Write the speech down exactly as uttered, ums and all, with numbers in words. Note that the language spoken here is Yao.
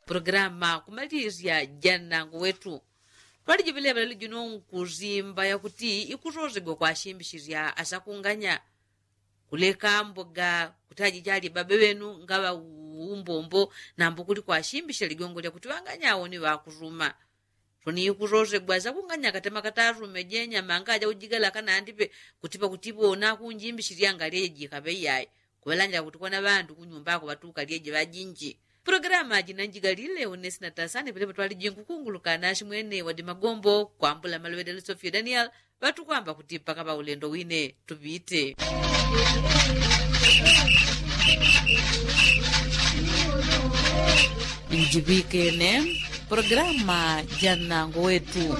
Pulogalamu kumalisya ja nnango wetu twalijiŵeleŵa lelo jino nkusimba yakuti ikusosegwa kwashimbishisya asakunganya kuleka mboga kuti ajichali babe ŵenu ngaŵa umbombo nambo kuli kwashimbishisya ligongo lyakuti ŵanganya awo ni ŵakusuma. Soni ikusosegwa asakunganya katema katasume jenyama ngaja ujigala kanandipe kuti pakuti ŵona kunjimbishisya ngalyeje jikaŵe iyayi. Kuŵalanjila kuti kwana ŵandu kunyumba ako ŵatuka lyeje ŵajinji. Pulogalamu ajina njigalile unesina tasani pelepo twalijingu kunguluka nashimwene wadi magombo kwambula maluŵele lisofia daniel ŵatukwamba kuti mpaka ŵaulendo wine tuŵite. Njiŵikene pulogalamu ja nnango wetu.